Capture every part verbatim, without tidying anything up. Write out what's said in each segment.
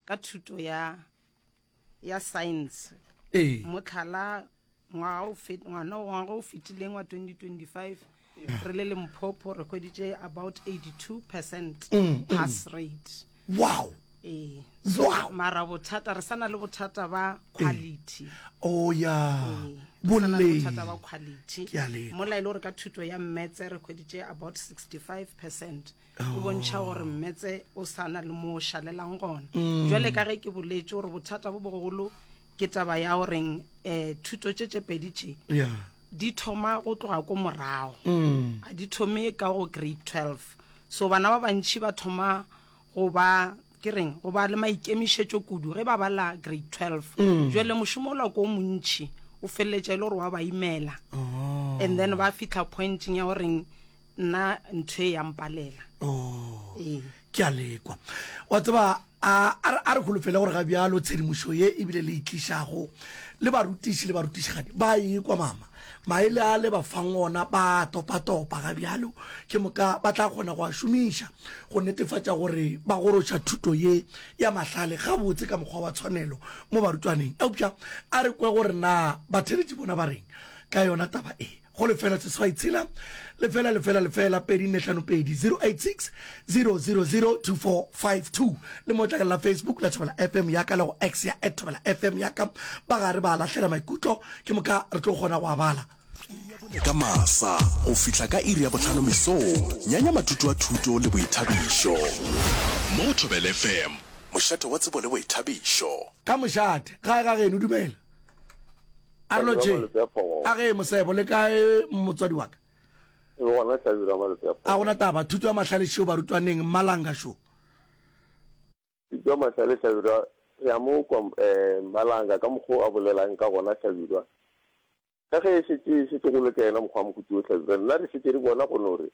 Ka thuto ya ya science. Ee. Motlhala ngwaga o fet ngwana ngwaga o fetileng wa twenty twenty five re le Limpopo re hweditše about eighty two percent Mm, mm. pass rate. Wow. Ee. So Wow. mara bothata re sa na le bothata ba quality. Oh ya. Ee, re sa na le Boleng. bothata ba quality. Ke a leka. Mola e le gore ka thuto ya mmetse re hweditše about sixty five percent. O bontšha gore mmetse o sa na le mo o šalelang gona. Mm. Jwale ka ge ke boletše gore bothata bo bogolo ke taba ya goreng um thuto tše tše pedi tše Yeah. di thoma go tloga ko morago. Mm. A di thome ka go grade twelve. So bana ba bantši ba thoma go ba ke reng go ba le maikemišetšo kudu ge ba bala grade twelve. Mm. Jwale mošomo ola ko montši o feleletša e le gore wa ba imela. Oh. And then ba fihla pointing ya goreng nna ntho e ya mpalela. Oh. Ee. Ke a lekwa. Wa tseba a a re holofele gore ga bjalo tshedimošo ye ebile le itlišago le barutiši le barutišigadi ba ekwa mama maele a le ba fang ona ba topa-topa ga bjalo ke moka ba tla kgona go a šomiša go netefatša gore ba goroša thuto ye ya mahlale gabotse ka mokgwa wa tshwanelo mo barutwaneng. Eupša a re kwe gore na batheeletši bona ba reng ka yona taba e. Go lefela seswai tshela lefela lefela lefela pedi nne hlano pedi zero eight six zero zero zero two four five two le mo tlakala la Facebook la Thobela F M ya ka le go X ya at Thobela F M ya ka ba gare ba lahlela maikutlo ke moka re tlo kgona go a bala. Ka masa go fihla ka iri ya bohlano mesong, nyanya matuto a thuto le boithabišo. Mo go Thobela F M, mošate wa tsebo le boithabišo. Ka mošate, gae ga geno, dumela. A re lotšheng. A ge Mosebo, le kae motswadi wa ka? A gona taba, thuto ya mahlale šeo barutwaneng, Mmalanga šo. Thuto ya mahlale Hlabirwa, re a mo kwa Mmalanga ka mokgwa o a bolelang ka gona Hlabirwa. Ka ge e šetše e šetše go le ka yena mokgwa wa mohuta wo Hlabirwa, nna re šetše re bona go no re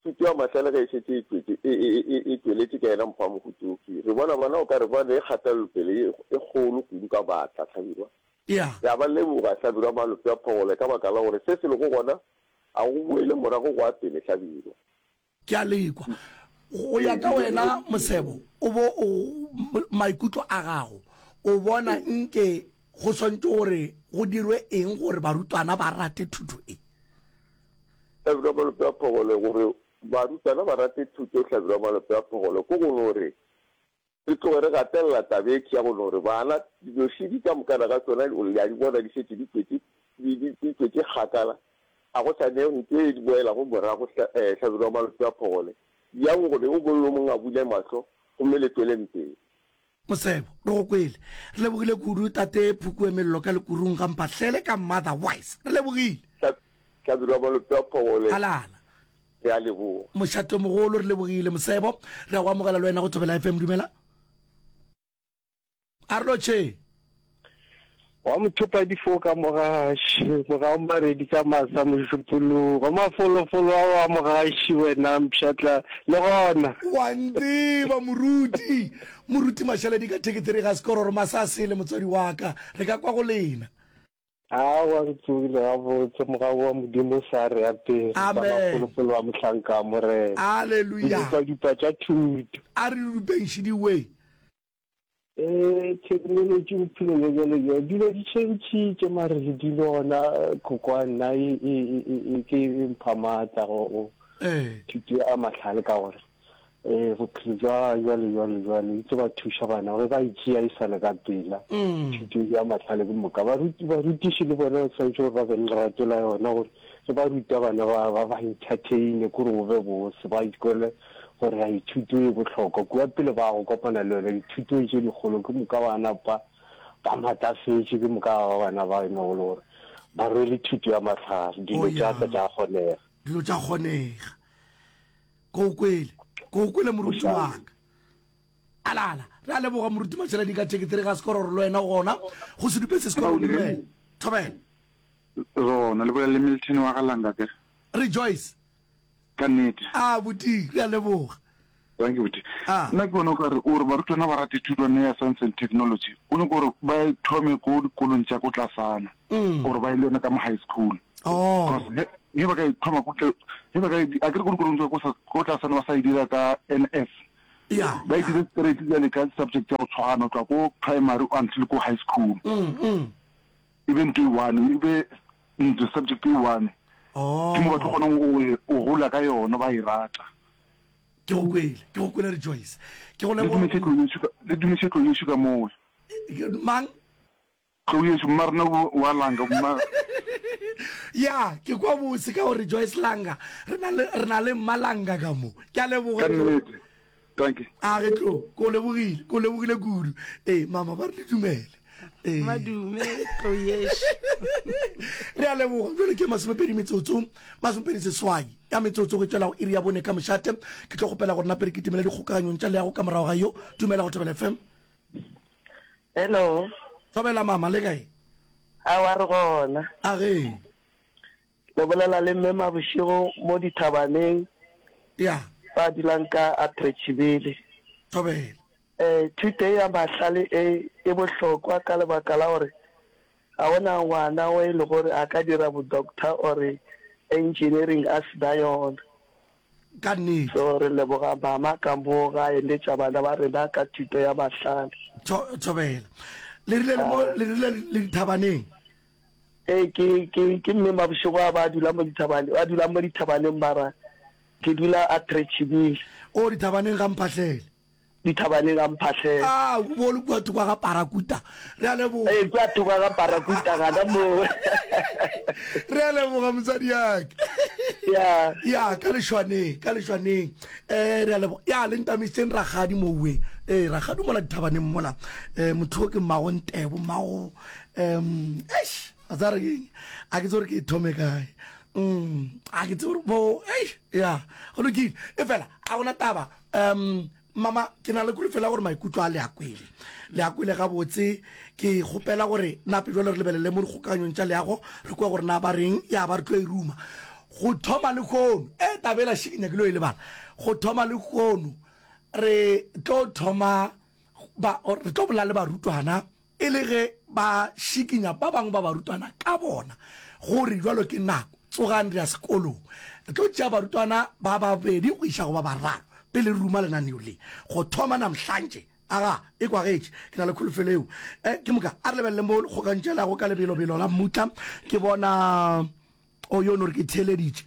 thuto ya mahlale ge e šetše e tšwetše, e, e, e, e tšweletše ka yena mokgwa wa mohuta wo ke re bona bana o ka re ba ne kgatelopele ye e kgolo kudu ka maatla Hlabirwa. Yeah. Re a ba leboga, Hlabirwa Malope a Phogole, ka baka la gore se se lego gona a go boele morago go a pele, Hlabirwa. Ke a lekwa. Go ya ka wena, Mosebo, o bo o, maikutlo a gago, o bona nke go swanetše gore go dirwe eng gore barutwana ba rate thuto e? Hlabirwa Malope a Phogole, Gore barutwana ba rate thuto, Hlabirwa Malope a Phogole, ke go no re re tloge re gatelela taba e ya go no re bana dinošidi ka mokana ga tsona le a di bona di šetše di tšwetše di di di tšwetše kgakala, a go sa ne ntho e di boelago morago Hlabirwa Malope a Phogole, yang gore o mongwe le o mongwe a bule mahlo gomme le tšweleng pele. Mosebo, re go kwele. Re lebogile kudu Tate Phukue Mello ka Lekurung ga Mphahlele ka Mother Wise. Re lebogile. Hlabirwa Malope a Phogole. Halala. Re a leboga. Mošatomogolo, re lebogile. Mosebo, re a go amogela le wena go Thobela F M. Dumela. A re lotšheng. Wa mothopa difoka mogaši, morago maredi ka masa mošupologo, mafolofolo a wa mogaši wena mpšhatla le gona. Wa ntseba moruti, moruti Mašaledi ka thekethere ga sekororo masa a sele motswadi wa ka, re ka kwa go lena. Aowa re tsogile gabotse, mogau wa Modimo o sa re apere ka mafolofolo a mohlanka wa Morena. Haleluya. Didupadupa tša thuto. A re dudupeng šidiwe. Ee, theknolotši bophelo bja bjale bja dilo di tšhentšhitše mare le dilo gona kokwa nna e, e, e, e, ke e mpha maatla go go thuto ya mahlale ka gore um bophelo bja jwale jwale jwale itse ba thuša bana gore ba itšea e sa le ka pela thuto ya mahlale ke moka baruti barutiši le bona ba tshwanetse gore ba be le lerato la yona gore ge ba ruta bana ba ba ba entertaine kore go be bose ba ikwele gore a ithuto e bohlokwa kua pele ba go kopana le yona dithutong tše dikgolo ke moka ba napa ba matlafetše ke moka ba bana ba e lego le gore ba rwele thuto ya mahlare dilo tša tla tša kgonega dilo tša kgonega ko kwele ko kwele moruti wa ka alala re a leboga moruti Matšheledi ka thekethere ga sekororo le wena gona go se dupe se sekororo dumela thobela Rona le bolela le Milton wa ga Langa kere. Rejoice. Ka nnete. A buti, re a leboga. Thank you buti. A. Nna ke bona o ka re o re barutwana ba rate thutwana ya science and technology, o nyaka gore ba e thome ko dikolong tša ko tlasana, gore ba ye le yona ka mo high school. Oh. Because ge ge ba ka e thoma ko tle, ge ba ka e, a ke re ko dikolong tša ko sa, ko tlasana ba sa e dira ka N S, Ya. Ba e dire straight bjale ka subject ya go tshwana go tloga ko primary until ko high school. Mm, mm. E be ntho e one, e be ntho subject e one. Oh. Ke mo ba tlo kgonang go go gola ka yona ba e rata. Ke go kwele, ke go kwele Rejoice. Ke go Le leboga. dumiše tlou yešo ka, le dumiše tlou yešo ka mowe. Mang? Tlou yešo, mma rena wa Langa, mma. Ya, ke kwa bose ka gore Joyce Langa, re na le, re na le mma Langa ka mo. Ke a leboga. Ka nnete. Dankie. A ge tlo, ko lebogile, ko lebogile kudu. Ee, mama ba re le dumele. Ee. Madume, tlou yešo. Re a leboga. Bjale ke masomepedi metsotso, masomepedi seswai ya metsotso go tšwela go iri ya bone ka mošate. Ke tlo kgopela gore nape re kitimele dikgokaganyong tša leago ka morago ga yo. Dumela go Thobela F M. Hello. Thobela mama, le kae? Aowa re gona. A ge. Le bolela le mme Mabošego mo dithabaneng. Ya. Ba dulang ka Attrachibele. Thobela. Eh, thuto e ya mahlale e e bohlokwa ka lebaka la gore ga gona ngwana o e le gore a ka dira bo doctor or engineering a se na yona. Ka nnete. So re leboga mama ka mo ga eletša bana ba rena ka thuto ya mahlale. Tho, thobela. Le rile le mo, le rile le dithabaneng? Ee, ke, ke, ke mme Mabošego a ba dula mo dithabaneng, ba dulang mo dithabaneng mara ke dula Attrachibile. O, dithabaneng ga Mphahlele. Dithabaneng ga Mphahlele. Ah, o bo le kua thoko ga Parakuta. Re a leboga. Ee, kua thoko ga Parakuta gana moo. Re a leboga mosadi yaka. Ya. Ya, ka lešwaneng, ka lešwaneng. Eh, re a leboga. Ya, le ntamisitseng rakgadi mowe. Eh, rakgadi mola dithabaneng mola. Eh, motho o ke mmago Ntebo, mmago, um, eish, a tsa re keng? A ke tsebe gore ke e thome kae. Mm, a ke tsebe gore bo, eish, ya, go lokile. E fela, a gona taba. Um, mama, ke na le kholofelo ya gore maikutlo a le a kwele. Le a kwele gabotse. Ke kgopela gore nape jwale re lebelele mo dikgokaganyong tša leago, re kwe gore na ba reng, ya ba re tlo e ruma. Go thoma lehono, e taba ela še ke nyakile go e lebala. Go thoma lehono, re tlo thoma ba, re tlo bolela le barutwana e le ge ba šikinya ba bangwe ba barutwana ka bona gore jwalo ke nako, tsogang re ya sekolong. Re tlo tšea barutwana ba babedi go iša go ba bararo pele re ruma lenaneo le. Go thoma namhlantše, aga, e kwagetše, ke na le kholofelo eo. Eh, ke moka, a re lebelele mo kgokantšelago ka lebelobelo la mmutla. Ke bona, o yo no re ke theeleditše.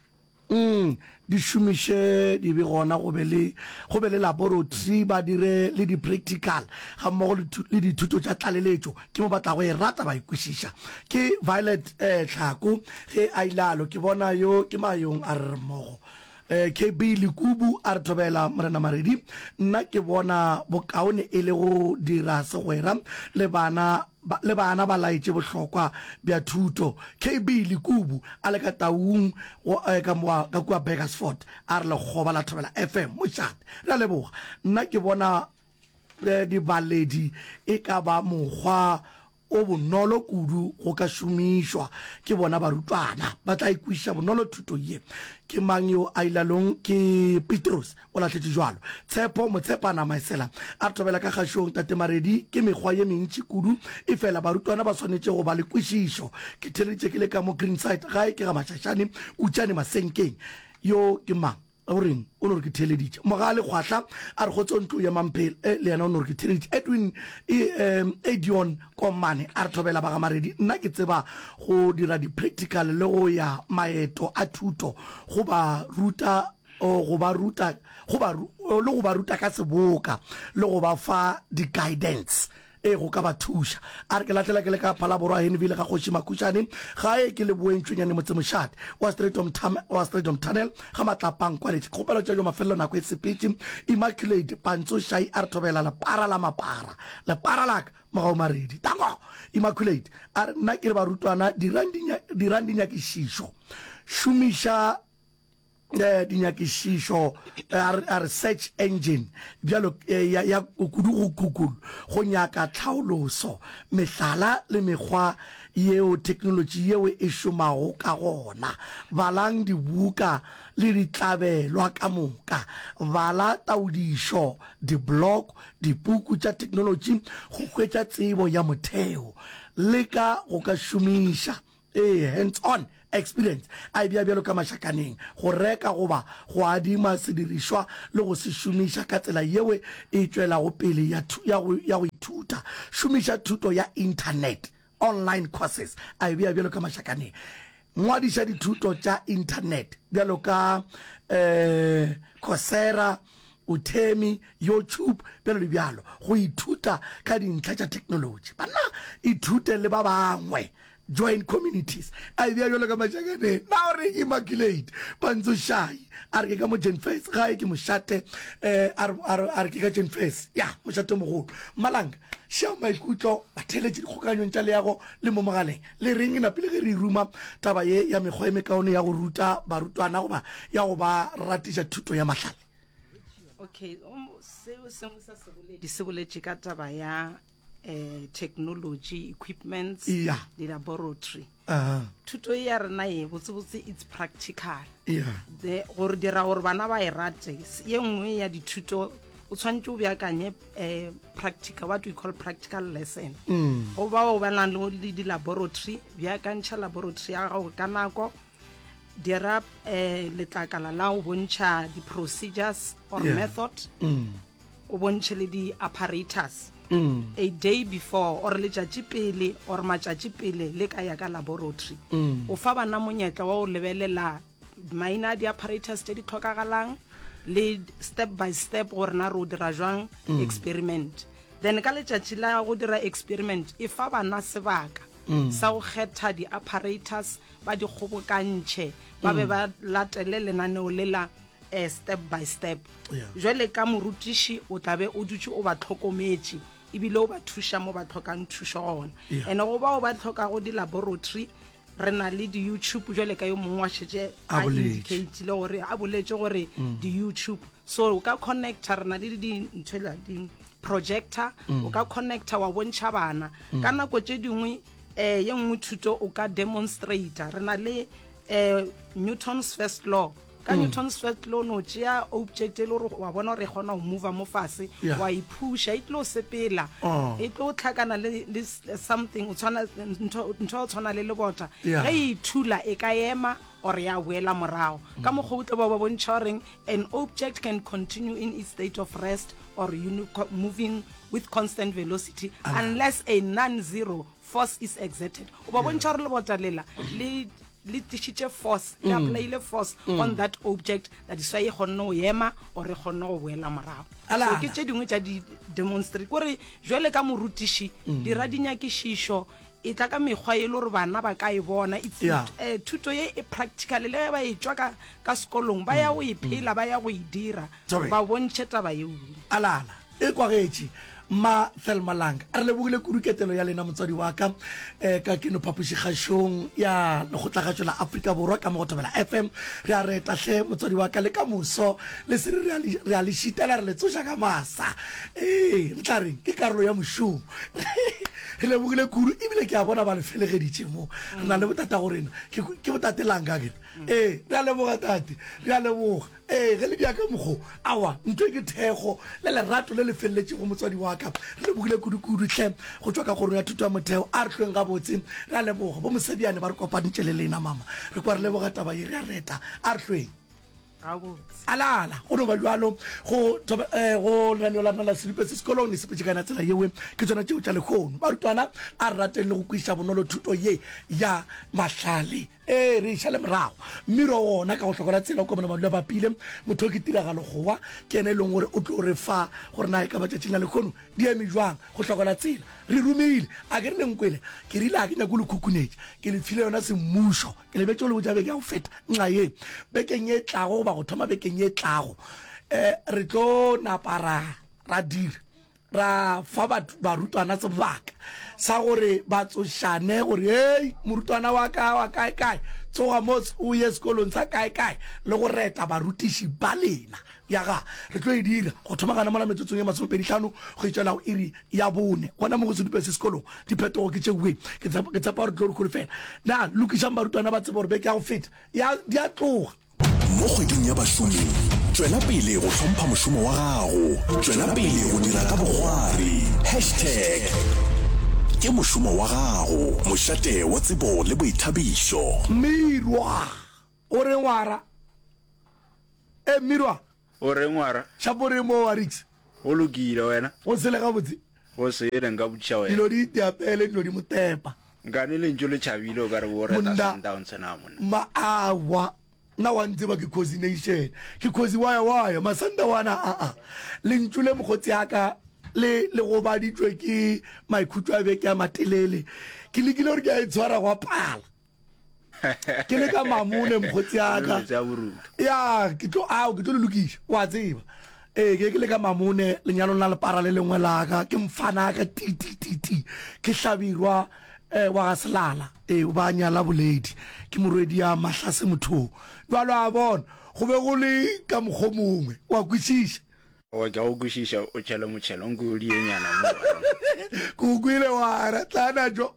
Mm, di šomiše di be gona, go be le, go be le laboratory, ba dire le di-practical ga mmogo le thu-, le dithuto tša tlaleletšo. Ke mo ba tlago e rata ba e kwešiša. Ke Violet, eh, Tlhako ge a ilalo. Ke bona yo ke mayong a re re mmogo. Eh, K B Lekubu a re thobela Morena Maredi. Nna ke bona bokaone e le go dira segwera le bana ba, le bana ba laetše bohlokwa bja thuto. K B Lekubu a le ka Taung go, eh, ka moa, ka kua Burgersfort a re lekgoba la Thobela F M mošate. Re a leboga. Nna ke bona, eh, dibaledi e ka ba mokgwa o bonolo kudu go ka šomišwa ke bona barutwana. Ba tla ikwešiša bonolo thuto ye. Ke mang yo a ilalong? Ke Petros, o lahletše jwalo. Tshepo Motshepana Maesela a re thobela ka kgašong, Tate Maredi, ke mekgwa ye mentši kudu, efela barutwana ba swanetše go ba le kwešišo. Ke theeleditše ke le ka mo Greenside, gae ke ga Mašašane, Kutšane Masenkeng. Yo ke mang? O reng? O no re ke theeleditše. Mogale Kgwahla a re kgotso ntlo ya Mamphele. Eh, le yena o no re ke theeleditše. Edwin, e, eh, Edion Komane a re thobela ba ga Maredi. Nna ke tseba go dira di-practical le go ya maeto a thuto go ba ruta, oh, go ba ruta, go ba, oh, le go ba ruta ka seboka le go ba fa di-guidance. Ee, go ka ba thuša. A re ke lahlela ke le ka Phalaborwa, Henville ga Kgoši Makhušane, gae ke Leboeng Tšwenyane motsemošate wa Strijdom Tam, wa Strijdom Tunnel ga Matlapang Kwaletše. Kgopelo tša jo mafelelo nako e sepetše. Immaculate Pantso Shai a re thobela lepara la mapara. Lepara la ka, Mogau Maredi. Tango! Immaculate a re nna ke re barutwana dirang dinya-, dirang dinyakišišo. Šomiša eh, dinyakišišo, eh, a re, a re search engine bjalo, eh, ya, ya kudu go Google go nyaka tlhaoloso, mehlala le mekgwa yeo theknolotši yeo e šomago ka gona. Balang dibuka le ditlabelwa ka moka. Bala taodišo, di-blog, dipuku tša theknolotši go hwetša tsebo ya motheo. Leka go ka šomiša. Ee, hands on experience, a e bea bjalo ka mašakaneng, go reka goba go adima sedirišwa le go se šomiša ka tsela yeo e tšwelago pele ya, ya, go, ya go ithuta. Šomiša thuto ya internet, online courses, a e bea bjalo ka mašakaneng. Ngwadiša dithuto tša internet bjalo ka eh, Coursera, Udemy, YouTube, bjalo le bjalo, go ithuta ka dintlha tša theknolotši. Banna, ithute le ba bangwe. Join communities. A e bea bjalo ka mašakaneng. Na o reng Immaculate? Pantsošai. A re ke ka mo Jenfes. Gae ke mošate. Eh, a re, a re, a re ke ka Jenfes. Ya, mošate o mogolo. Mmalanga, šea maikutlo, batheeletši dikgokaganyong tša leago le mo mogaleng. Le reng napile ge re e ruma taba ye ya mekgwa e mekaone ya go ruta barutwana goba ya go ba ratiša thuto ya mahlale? Okay, um, seo sengwe sa seboledi se boletše ka taba ya eh, technology equipments yeah. di-laboratory uh -huh. thuto e ya rena e botsebotse it's practical yeah. The, gore dira gore bana ba e rate ye nngwe ya dithuto o tshwanetse o beakanye eh, practical what we call practical lesson mm. go bao ba nang le di-laboratory beakantšha laboratory ya gago ka nako dira eh, letlakala la go bontšha di-procedures or Yeah. method Mm. o bontšhe le di-apparatus Mm. a day before or letšatši pele or matšatši pele le ka ya ka laboratory Mm. o fa bana monyetla wa go lebelela maina a di-apparatus tše di tlhokagalang le step by step gore na re o dira jwang Mm. experiment then ka letšatši la go dira experiment e fa bana sebaka Mm. sa go kgetha di-apparatus ba di kgobokantšhe ba be Mm. ba latele lenaneo le la eh, step by step Yeah. jwale ka morutiši o tla be o dutše o ba tlhokometše ebile o ba thuša mo ba tlhokang thušo gona Yeah. and go bao ba tlhokago di-laboratory re na le di-youtube jwale ka yo mongwe wa šetše A a boletše. indicatile gore a boletše gore Mm. di-youtube so o ka connecta re na le di-ntho di-projector Mm. o ka connecta wa bontšha bana Mm. ka nako tše dingwe um ye nngwe thuto o ka demonstrata re na le um newton's first law ka Mm. newton's first law no tšea object e le gore wa bona gore e kgona go mova mo fase Yeah. wa e phusha e tlo sepela Oh. e tlo tlhakana le, le s- something o tshwana ntho ntho ya go tshwana le lebota Yeah. ge e ithula e ka ema or ya boela morago ka mokgwa o tlo ba ba bontšha goreng an object can continue in its state of rest or uni- co- moving with constant velocity unless a non-zero force is exerted o ba bontšha gore lebota lela le le tlišitše force le Mm. applyile force Mm. on that object that is why e kgonne go ema or e kgonne go boela morago so Alana. ke tše dingwe tša di-demonstrate kore jwale ka morutiši Mm. dira dinyakišišo e tla ka mekgwa e le gore bana ba ka e bona It's- Yeah. eh, thuto ye e practical le ge ba e tšwa ka, ka sekolong ba ya go e phela ba ya go e dira Sorry. ba bontšhe taba yeo alala e kwagetše mma Thelma Langa a re lebogile kudu ketelo ya lena motswadi wa ka um ka keno phapošikgašong ya lekgotlakgašo la Afrika Borwa ka mo go Thobela F M re a reta hle motswadi wa ka le ka moso le se re re a le šitela re le tsoša ka masa ee re tla reng ke karolo ya mošomo re lebogile kudu ebile ke a bona ba le felegeditše mo re na le botata go rena ke ke botate Langa ke ee re a leboga tate re a leboga ee ge le bja ka mokgo awa ntho e ke thekgo le lerato le le feleletšego motswadi wa ka re lebogile kudu-kudu hle go tšwa ka kgorong ya thuto ya motheo a re hlweng gabotse re a leboga bo Mosebjane ba re kopanitše le lena mama re kwa re leboga taba ye re a reta a re hlweng gabotse alala go no ba bjalo go thoba- eh, go lenaneo la rena la sedupe se sekolong le sepetše ka yona tsela yewe ke tsona tšeo tša lehono barutwana a re rateng le go kwešiša bonolo thuto ye ya mahlale ee re iša le morago mmiro wona ka go hlokola tsela o komana madula bapile motho o ke tiragalo gowa ke ena e leng gore o tlo re fa gore na e ka matšatšing a lehono di eme jwang go hlokola tsela re romile a ke re le nkwele ke rile a ke nyako le khukhunetša ke le file yona semmušo ke lebetše go le botša beke ya go feta nxa ye bekeng ye tlago goba go thoma bekeng ye tlago um re tlo napa ra ra dira ra fa batho barutwana sebaka sa gore ba tsošane gore hei morutwana wa ka wa kae kae tsoga mo o ye sekolong sa kae kae le go reta barutiši ba lena ya ga re tlo e dira go thoma gana mola metsotsong ye masomepedi hlano go itšwela go iri ya bone gona mo go sedupe se sekolong diphetogo ke tšeoe ke tshepa ke tshepa gore tlo re kgolo fela na lokišang barutwana ba tseba gore beke ya go feta ya di a tloga Mo kgweding ya bašomi, tšwela pele go hlompha mošomo wa gago. Tšwela pele go dira ka bokgwari. Hashtag Ke mošomo wa gago, mošate wa tsebo le boithabišo. Mmirwa, O reng wara? E, Mmirwa. O reng wara? Šapo reng mo Warix? Go lokile, wena? Go sele gabotse. Go sele, nka botšiša wena. Dilo di itiapele, dilo di motepa. Nkane lentšu le tšhabile o ka re bo reta Sundowns na monna. Ma awa, nna wa ntseba ke Khosi Nation. Ke Khosi waya waya, Masandawana aa. Lentšu le mokgotsi ya ka le le gobaditšwe ke maikhutšo a beke a matelele. Ke lekile gore ke a itshwara gwa pala. Ke le ka mamone mokgotsi ya ka. Ya, ke tlo ao ke tlo le lokiša. Wa tseba. Ee, ke ke le ka mamone lenyalong la lepara le lengwe la ka, ke mfana ka ti ti ti ti. Ke Hlabirwa eh, wa ga Selala. Ee, o ba nyala Boledi. Ke morwedi ya Mahlase Mothong. Bjalo a bona, go be go le ka mokgo mongwe. Wa kwešiša? Oa, ke a go kwešiša, o tšhele motšhelo, nko o dienyana mo. Ke o kwele wa ra, tla najo.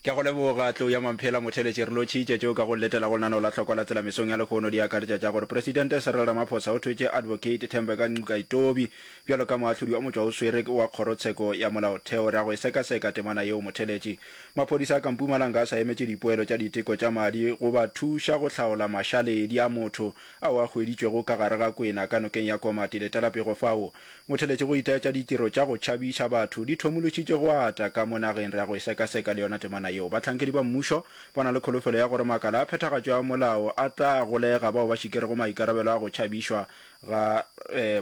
Ke a go leboga, Tlou ya Mamphela Motheletši. Re lotšhitše tšeo ka go letela go lenaneo la Hlokwa la Tsela mesong ya lehono di akaretša tša gore Presidente Cyril Ramaphosa o thwetše Advocate Thembeka Ngcukaitobi bjalo ka moahlodi wa motšwaoswere wa Kgorotsheko ya Molaotheo. Re ya go e sekaseka temana yeo Motheletši. Maphodisa a ka Mpumalanga a sa emetše dipoelo tša diteko tša madi go ba thuša go hlaola mašaledi a motho ao a hweditšwego ka gare ga kwena ka nokeng ya Komati. Letela pego fao. Motheletši go itaetša ditiro tša go tšhabiša batho di thomološitše go ata ka mo nageng. Re ya go e sekaseka le yona temana yeo. Bahlankedi ba mmušo ba na le kholofelo ya gore makala a phethagatšo ya molao a tla golega bao ba šikerego maikarabelo a go tšhabišwa ga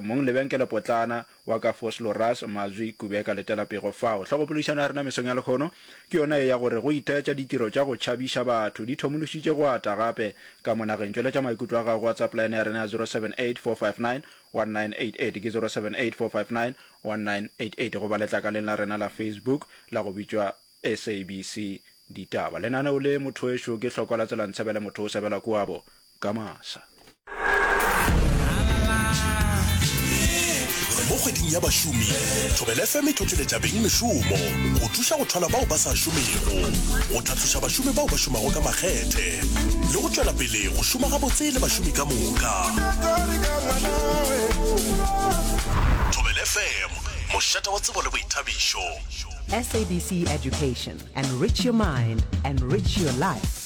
mong lebenkelepotlana wa ka Vosloorus, Mazwi Kubeka. Letela pego fao. Hlogopoledišano ya rena mesong ya lehono ke yona ye ya gore go itaetša ditiro tša go tšhabiša batho di thomološitše go ata gape ka mo nageng. Tšweletša maikutlo a gago go WhatsApp line ya rena ya zero seven eight four five nine one nine eight eight ke zero seven eight four five nine one nine eight eight goba letlakaleng la rena la Facebook la go bitšwa S A B C Ditaba. Lenaneo le mothoešo ke Hlokwa la Tsela Ntshebele motho o sebela kuabo ka masa. Mo kgweding ya bašomi, Thobela F M e tlhohleletša beng mešomo go thuša go thwala bao ba sa šomego, go tlhatloša bašomi bao ba šomago ka makgethe le go tšwela pele go šoma gabotse le bašomi ka moka. Thobela F M, mošate wa tsebo le boithabišo. S A B C Education, enrich your mind, enrich your life.